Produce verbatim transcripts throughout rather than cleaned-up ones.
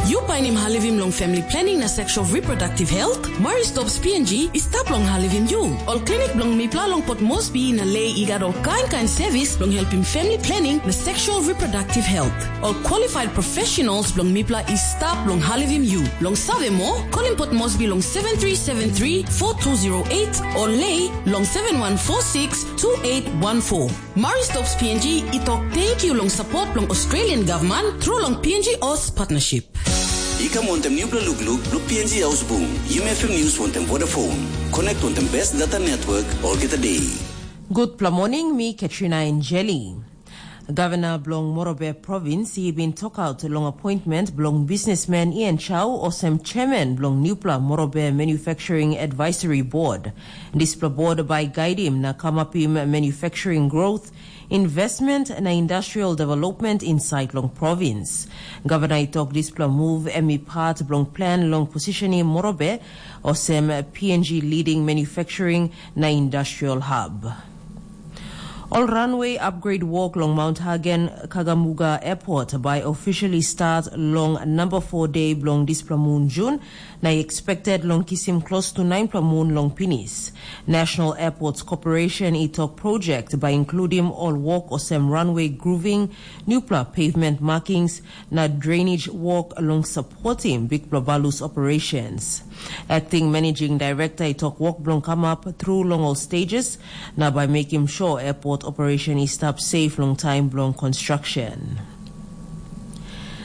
Yu painim halivim long family planning na sexual reproductive health? Maristops P N G i stap long halivim yu. Ol klinik bilong mipela long Port Moresby na Lei i gat ol kain kain sevis bilong helpim family planning na sexual reproductive health. Ol qualified professionals bilong mipela i stap long halivim yu. Long save moa, kolim Port Moresby long seven three seven three, four two zero eight o Lei long seven one four six, two eight one four. Maristops P N G i tok tenkyu long sapot bilong Australian Government tru long P N G Oz Partnership. I kam wantaim nupela lukluk bilong P N G Haus Bung, Yumi F M News wantaim Vodafone. Connect wantaim best data network olgeta day. Gutpela morning, mi Katrina Angeli. Gavana bilong Morobe Provins i bin tokaut long appointment bilong businessman Ian Chau olsem chairman bilong nupela Morobe Manufacturing Advisory Board. Dispela board bai gaidim na kamapim manufacturing growth, investment na industrial development inside long provins. Gavana i tok dispela move em i part bilong plan long positioning Morobe olsem P N G leading manufacturing na industrial hub. Ol runway upgrade work long Mount Hagen Kagamuga Airport bai officially start long number four day bilong dispela mun Jun, na i expected long kisim close to ninepela mun long pinis. National Airports Corporation i tok project bai includim ol work olsem runway grooving, nupela pavement markings, na drainage work long supportim bikpela balus operations. Acting Managing Director i tok work bilong kamap through long ol stages, na bai mekim sure airport operation i stap safe long time bilong construction.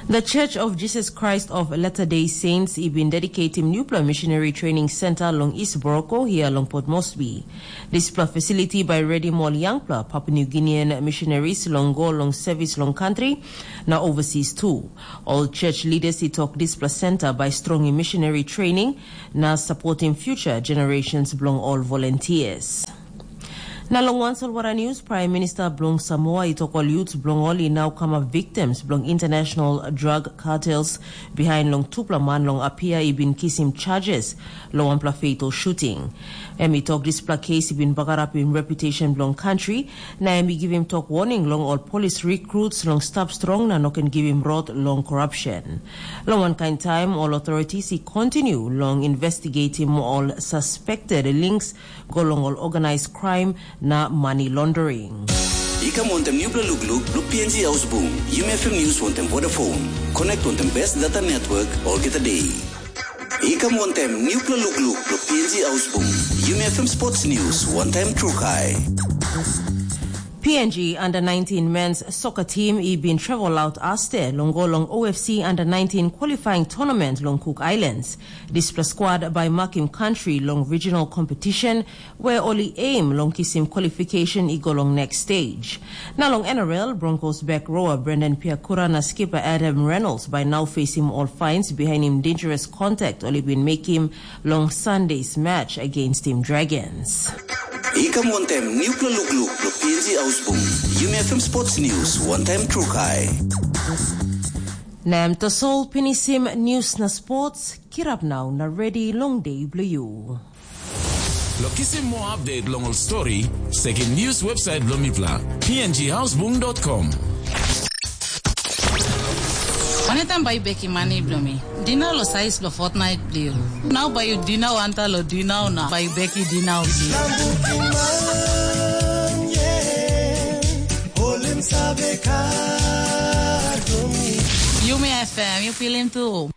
The Church of Jesus Christ of Latter-day Saints i bin dedicatim nupela missionary training center long East Boroko hia long Port Moresby. Dispela facility bai redim ol yangpela Papua New Guinean missionaries long go long service long country na overseas too. Ol church leaders i tok dispela center bai strongim missionary training na supportim future generations bilong ol volunteers. Na long wan solwara news, Prime Minister bilong Samoa i tok ol youths bilong ol i nau kamap victims bilong international drug cartels behind long tupela man long Apia i bin kisim charges long wanpela fatal shooting. Em i tok dispela kes i bin bagarapim reputation bilong country, na em i givim tok warning long ol police recruits long stap strong na no ken givim rot long corruption. Long wankain taim, ol authorities i continue long investigating ol suspected links go long ol organized crime na money laundering. I kam wantaim nupela lukluk bilong P N G Haus Bung, Yumi F M News wantaim Vodafone. Connect wantaim best data network olgeta day. I kam wantaim nupela lukluk bilong P N G Haus Bung, Yumi F M Sports News wantaim Trukai. P N G under nineteen men's soccer team i bin travel out aste long go long O F C under nineteen qualifying tournament long Cook Islands. Dispela squad bai makim country long regional competition where ol i aim long kisim qualification i go long next stage. Na long N R L, Broncos back rower Brendan Piakura na skipper Adam Reynolds bai nau facing ol fines behind him dangerous contact ol i bin mekim long Sunday's match against him Dragons. I kam wantaim nupela lukluk bilong P N G Haus Bung, Yumi F M Sports News wantaim Trukai. Na em tasol pinisim news na sports, kirap nau na ready long day bilong you. Lo kisim more update long ol story, sekim news website bilong mipela, P N G Houseboom dot com. Waneta bai beki mani bilong mi? Dina lo sais lo fortnight bilong. Nau bai yu dina wanta lo dina na bai beki dina bilong. Yumi F M, yu pilim tu.